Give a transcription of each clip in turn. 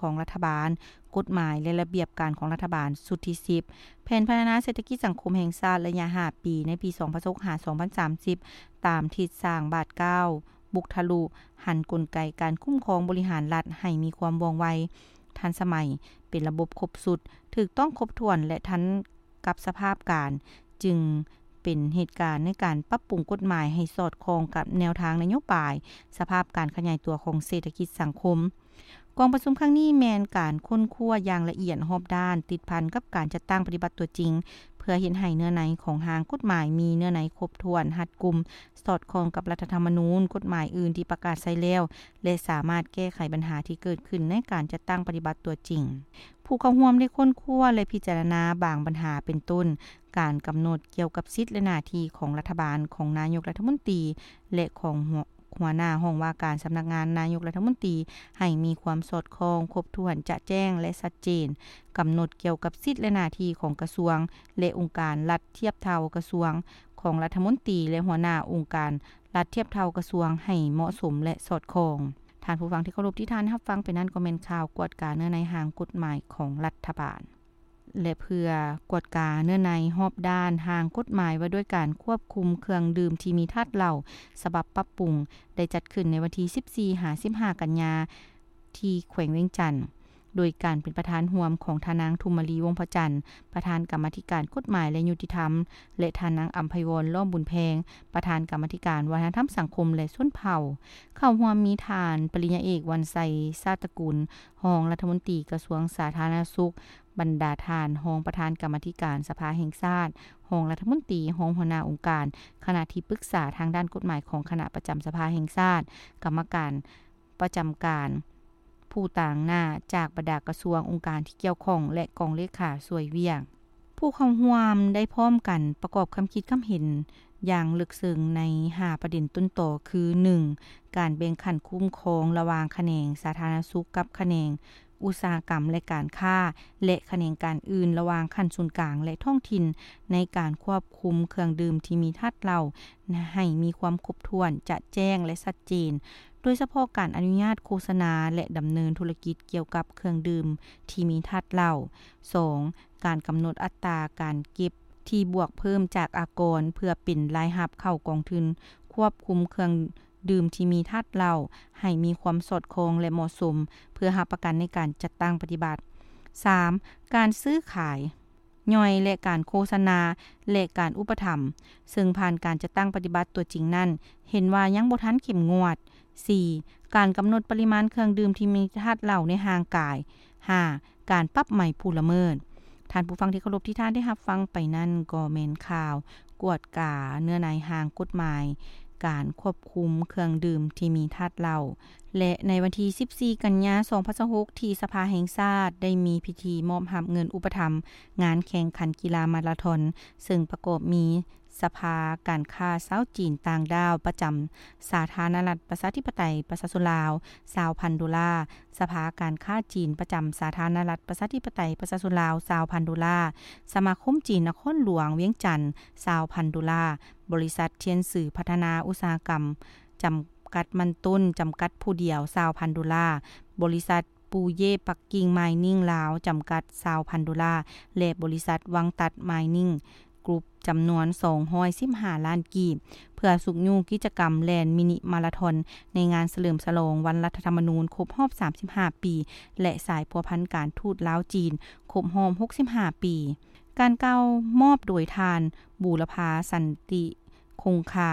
ຂອງລັດຖະບານ, ກົດໝາຍ ແລະ ລະບຽບການຂອງລັດຖະບານຊຸດທີສິບ, ແຜນພັດທະນາເສດຖະກິດສັງຄົມແຫ່ງຊາດໄລຍະຫ້າປີ ໃນປີສອງພັນຊາວຫົກ ຫາ ສອງພັນສາມສິບ ຕາມທິດສ້າງບາດກ້າວ, ບຸກທະລຸ, ຫັນກົນໄກການຄຸ້ມຄອງບໍລິຫານລັດໃຫ້ມີຄວາມວ່ອງໄວ, ທັນສະໄໝ, ເປັນລະບົບຄົບຊຸດ, ຖືກຕ້ອງຄົບຖ້ວນ ແລະ ທັນກັບສະພາບການ, ຈຶ່ງເປັນເຫດການໃນການປັບປຸງກົດໝາຍໃຫ້ສອດຄ່ອງກັບແນວທາງນະໂຍບາຍ, ສະພາບການຂະຫຍາຍຕົວຂອງເສດຖະກິດສັງຄົມ. ກອງປະຊຸມຄັ້ງນີ້ແມ່ນການຄົ້ນຄວ້າຢ່າງລະອຽດຮອບດ້ານ, ຕິດພັນກັບການຈັດຕັ້ງປະຕິບັດຕົວຈິງ, ເພື່ອເຮັດໃຫ້ເນື້ອໃນຂອງຮ່າງກົດໝາຍມີເນື້ອໃນຄົບຖ້ວນ, ຮັດກຸມ, ສອດຄ່ອງກັບລັດຖະທຳມະນູນ, ກົດໝາຍອື່ນທີ່ປະກາດໃຊ້ແລ້ວ ແລະ ສາມາດແກ້ໄຂບັນຫາທີ່ເກີດຂຶ້ນໃນການຈັດຕັ້ງປະຕິບັດຕົວຈິງ. ຜູ້ເຂົ້າຮ່ວມໄດ້ຄົ້ນຄວ້າ ແລະ ພິຈາລະນາບາງບັນຫາ ເປັນຕົ້ນ ການກຳນົດກ່ຽວກັບສິດ ແລະ ໜ້າທີ່ຂອງລັດຖະບານ, ຂອງນາຍົກລັດຖະມົນຕີ ແລະ ຂອງຫົວ ຫົວໜ້າຫ້ອງວ່າການສຳນັກງານນາຍົກລັດຖະມົນຕີ ໃຫ້ມີຄວາມສອດຄ່ອງ, ຄົບຖ້ວນ, ຈະແຈ້ງ ແລະ ຊັດເຈນ, ກຳນົດກ່ຽວກັບສິດ ແລະ ໜ້າທີ່ຂອງກະຊວງ ແລະ ອົງການລັດທຽບເທົ່າກະຊວງ, ຂອງລັດຖະມົນຕີ ແລະ ຫົວໜ້າອົງການລັດທຽບເທົ່າກະຊວງໃຫ້ເໝາະສົມ ແລະ ສອດຄ່ອງ. ທ່ານຜູ້ຟັງທີ່ເຄົາລົບ, ທີ່ທ່ານຮັບຟັງໄປນັ້ນກໍແມ່ນຂ່າວກວດກາເນື້ອໃນຮ່າງກົດໝາຍຂອງລັດຖະບານ. ແລະ ເພື່ອກວດກາເນື້ອໃນຮອບດ້ານຮ່າງກົດໝາຍວ່າດ້ວຍການຄວບຄຸມເຄື່ອງດື່ມທີ່ມີທາດເຫຼົ້າ ສະບັບປັບປຸງ ໄດ້ຈັດຂຶ້ນໃນວັນທີສິບສີ່ ຫາ ສິບຫ້າ ກັນຍາ ທີ່ແຂວງວຽງຈັນ, ໂດຍການເປັນປະທານຮ່ວມຂອງທ່ານນາງ ທຸມມະລີ ວົງພະຈັນ, ປະທານກຳມາທິການກົດໝາຍ ແລະ ຍຸຕິທຳ, ແລະ ທ່ານນາງ ອຳໄພວອນ ລ້ອມບຸນແພງ, ປະທານກຳມາທິການວັດທະນະທຳສັງຄົມ ແລະ ຊົນເຜົ່າ. ເຂົ້າຮ່ວມມີທ່ານ ປະລິນຍາເອກ ວັນໄຊ ຊາດຕະກຸນ, ຮອງລັດຖະມົນຕີກະຊວງສາທາລະນະສຸກ, ບັນດາທ່ານຮອງປະທານກຳມາທິການສະພາແຫ່ງຊາດ, ຮອງລັດຖະມົນຕີ, ຮອງຫົວໜ້າອົງການ, ຄະນະທີ່ປຶກສາທາງດ້ານກົດໝາຍຂອງຄະນະປະຈຳສະພາແຫ່ງຊາດ, ກຳມະການປະຈຳການ, ຜູ້ຕາງໜ້າຈາກບັນດາກະຊວງ, ອົງການທີ່ກ່ຽວຂ້ອງ ແລະ ກອງເລຂາຊ່ວຍວຽກ. ຜູ້ເຂົ້າຮ່ວມໄດ້ພ້ອມກັນປະກອບຄຳຄິດຄຳເຫັນຢ່າງເລິກເຊິ່ງໃນຫ້າປະເດັນຕົ້ນຕໍ ຄື ໜຶ່ງ ການແບ່ງຂັ້ນຄຸ້ມຄອງລະຫວ່າງຂະແໜງສາທາລະນະສຸກກັບຂະແໜງອຸດສາຫະກຳ ແລະ ການຄ້າ ແລະ ຂະແໜງການອື່ນລະຫວ່າງຂັ້ນສູນກາງ ແລະ ທ້ອງຖິ່ນ ໃນການຄວບຄຸມເຄື່ອງດື່ມທີ່ມີທາດເຫຼົ້າໃຫ້ມີຄວາມຄົບຖ້ວນ, ຈະແຈ້ງ ແລະ ຊັດເຈນ, ໂດຍສະເພາະການອະນຸຍາດໂຄສະນາ ແລະ ດຳເນີນທຸລະກິດກ່ຽວກັບເຄື່ອງດື່ມທີ່ມີທາດເຫຼົ້າ. ສອງ ການກຳນົດອັດຕາການເກັບທີ່ບວກເພີ່ມຈາກອາກອນ ເພື່ອເປັນລາຍຮັບເຂົ້າກອງທຶນຄວບຄຸມເຄື່ອງດື່ມທີ່ມີທາດເຫຼົ້າ ໃຫ້ມີຄວາມສອດຄ່ອງ ແລະ ເໝາະສົມ ເພື່ອຮັບປະກັນໃນການຈັດຕັ້ງປະຕິບັດ. ສາມ ການຊື້ຂາຍຍ່ອຍ ແລະ ການໂຄສະນາ ແລະ ການອຸປະຖຳ ເຊິ່ງຜ່ານການຈັດຕັ້ງປະຕິບັດຕົວຈິງນັ້ນ ເຫັນວ່າຍັງບໍ່ທັນເຂັ້ມງວດ. ສີ່ ການກຳນົດປະລິມານເຄື່ອງດື່ມທີ່ມີທາດເຫຼົ້າໃນຮ່າງກາຍ. ຫ້າ ການປັບໃໝຜູ້ລະເມີດ. ທ່ານຜູ້ຟັງທີ່ເຄົາລົບ, ທີ່ທ່ານໄດ້ຮັບຟັງໄປນັ້ນກໍແມ່ນຂ່າວກວດກາເນື້ອໃນຮ່າງກົດໝາຍການຄວບຄຸມເຄື່ອງດື່ມທີ່ມີທາດເຫຼົ້າ ແລະ ໃນວັນທີສິບສີ່ ກັນຍາ ສອງພັນຊາວຫົກ ທີ່ສະພາແຫ່ງຊາດໄດ້ມີພິທີມອບຮັບເງິນອຸປະຖຳງານແຂ່ງຂັນກິລາມາລາທອນ ເຊິ່ງປະກອບມີ ສະພາການຄ້າຊາວຈີນຕ່າງດ້າວປະຈຳສາທາລະນະລັດປະຊາທິປະໄຕປະຊາຊົນລາວ ຊາວພັນໂດລາ, ສະພາການຄ້າຈີນປະຈຳສາທາລະນະລັດປະຊາທິປະໄຕປະຊາຊົນລາວ ຊາວພັນໂດລາ, ສະມາຄົມຈີນນະຄອນຫຼວງວຽງຈັນ ຊາວພັນໂດລາ, ບໍລິສັດທຽນສືພັດທະນາອຸດສາຫະກຳຈຳກັດ ມັນຕົ້ນ ຈຳກັດຜູ້ດຽວ ຊາວພັນໂດລາ, ບໍລິສັດ ປູເຢປັກກິ່ງມາຍນິງລາວ ຈຳກັດ ຊາວພັນໂດລາ ແລະ ບໍລິສັດວັງຕັດມາຍນິງ ກຣຸບ ຈຳນວນ ສອງຮ້ອຍສິບຫ້າລ້ານກີບ ເພື່ອຊຸກຍູ້ກິດຈະກຳແລ່ນມິນິມາລາທອນ ໃນງານສະເຫຼີມສະຫຼອງວັນລັດຖະທຳມະນູນຄົບຮອບ ສາມສິບຫ້າ ປີ ແລະ ສາຍພົວພັນການທູດລາວ-ຈີນ ຄົບຮອບ ຫົກສິບຫ້າ ປີ. ການກ່າວມອບໂດຍທ່ານ ບູລະພາ ສັນຕິ ຄົງຄາ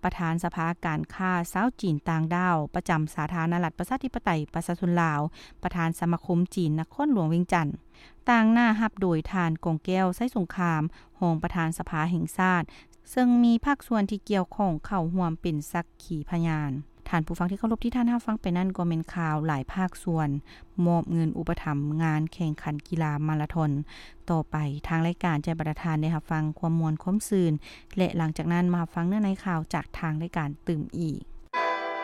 ປະທານສະພາການຄ້າຊາວຈີນຕ່າງດ້າວ ປະຈຳສາທາລະນະລັດປະຊາທິປະໄຕປະຊາຊົນລາວ, ປະທານສະມາຄົມຈີນນະຄອນຫຼວງວຽງຈັນ, ຕາງໜ້າຮັບໂດຍທ່ານ ກອງແກ້ວ ໄຊສົງຄາມ ຮອງປະທານສະພາແຫ່ງຊາດ, ເຊິ່ງມີພາກສ່ວນທີ່ກ່ຽວຂ້ອງເຂົ້າຮ່ວມເປັນສັກຂີພະຍານ. ທ່ານຜູ້ຟັງທີ່ເຄົາລົບ, ທີ່ທ່ານຮັບຟັງໄປນັ້ນກໍແມ່ນຂ່າວຫຼາຍພາກສ່ວນມອບເງິນອຸປະຖຳງານແຂ່ງຂັນກິລາມາລາທອນ. ຕໍ່ໄປທາງລາຍການຈະໃຫ້ບັນດາທ່ານໄດ້ຮັບຟັງຄວາມມ່ວນຄວາມຊື່ນ ແລະ ຫຼັງຈາກນັ້ນມາຮັບຟັງເນື້ອໃນຂ່າວຈາກທາງລາຍການຕື່ມອີກ.